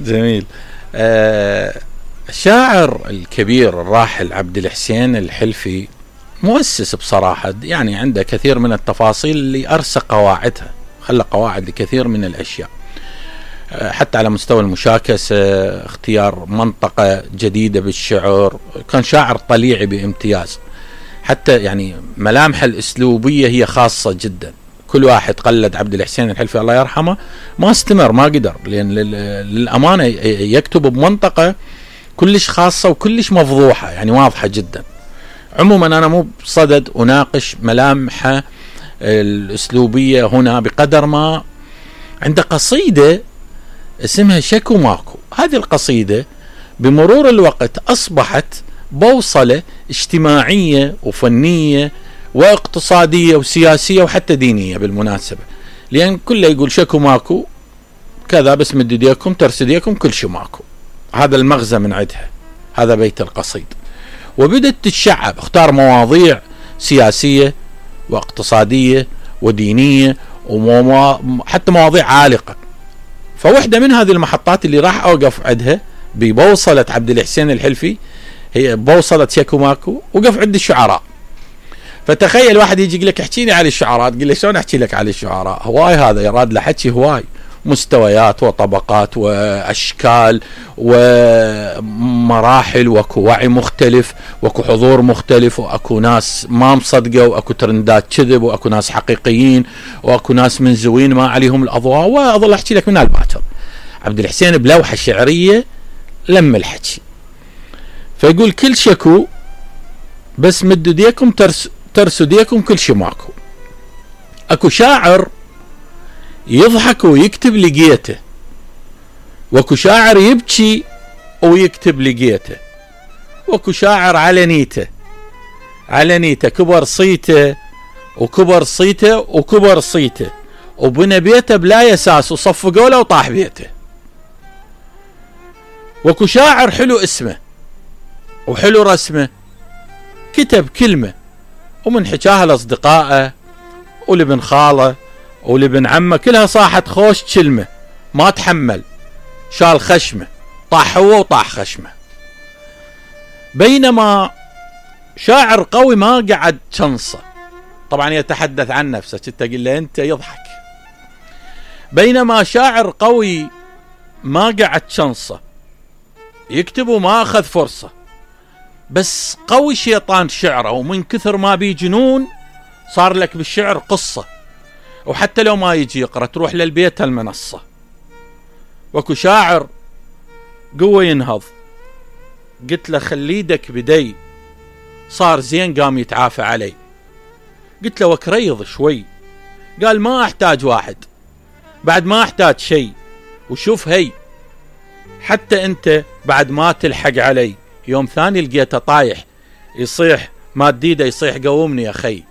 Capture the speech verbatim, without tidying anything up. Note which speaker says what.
Speaker 1: جميل. آه الشاعر الكبير الراحل عبد الحسين الحلفي مؤسس بصراحة، يعني عنده كثير من التفاصيل اللي أرسى قواعدها، خلى قواعد لكثير من الأشياء، حتى على مستوى المشاكسة، اختيار منطقة جديدة بالشعر. كان شاعر طليعي بامتياز، حتى يعني ملامح الأسلوبية هي خاصة جدا. كل واحد قلد عبد الحسين الحلفي الله يرحمه ما استمر، ما قدر، لأن للأمانة يكتب بمنطقة كلش خاصة وكلش مفضوحة، يعني واضحة جدا. عموما أنا مو بصدد أناقش ملامحه الأسلوبية هنا، بقدر ما عنده قصيدة اسمها شكو ماكو. هذه القصيدة بمرور الوقت أصبحت بوصلة اجتماعية وفنية واقتصادية وسياسية وحتى دينية بالمناسبة، لأن كله يقول شكو ماكو كذا، بس مد ايديكم ترس ايديكم كل شي ماكو. هذا المغزى من عندها، هذا بيت القصيد. وبدت تتشعب، اختار مواضيع سياسية واقتصادية ودينية وحتى مواضيع عالقة. فوحدة من هذه المحطات اللي راح أوقف عندها ببوصلة عبد الحسين الحلفي هي بوصلة شكو ماكو، وقف عند الشعراء. فتخيل واحد يجي يقول لك احكي لي على الشعراء، تقول له شلون احكي لك على الشعراء؟ هواي هذا يراد له حكي هواي، مستويات وطبقات واشكال ومراحل، واكو وعي مختلف، واكو حضور مختلف، واكو ناس ما مصدقه، واكو ترندات كذب، واكو ناس حقيقيين، واكو ناس منزوين ما عليهم الاضواء، واظل احكي لك من الباكر. عبد الحسين بلوحه شعريه لم الحكي، فيقول كل شكو بس مدوا ديكم ترس ترسوا ديكم كل شي ماكو. اكو شاعر يضحك ويكتب لقيته، واكو شاعر يبكي ويكتب لقيته، واكو شاعر على نيته على نيته كبر صيته وكبر صيته وكبر صيته وبنى بيته بلا يساس وصفقوا له وطاح بيته. واكو شاعر حلو اسمه وحلو رسمه، كتب كلمة ومن حكاها لأصدقائه ولبن خاله ولبن عمه كلها صاحت خوش كلمة، ما تحمل، شال خشمه، طاح هو وطاح خشمه. بينما شاعر قوي ما قعد شنصة، طبعا يتحدث عن نفسه، تقول له انت يضحك. بينما شاعر قوي ما قعد شنصة، يكتب وما اخذ فرصة، بس قوي شيطان شعره، ومن كثر ما بي جنون صار لك بالشعر قصة، وحتى لو ما يجي يقرأ تروح للبيت المنصة. وكو شاعر قوة ينهض، قلت له خليدك بدي، صار زين قام يتعافى علي. قلت له وكريض شوي، قال ما احتاج واحد، بعد ما احتاج شيء، وشوف هي حتى انت بعد ما تلحق علي. يوم ثاني لقيته طايح يصيح، ما تديده يصيح قومني يا خي.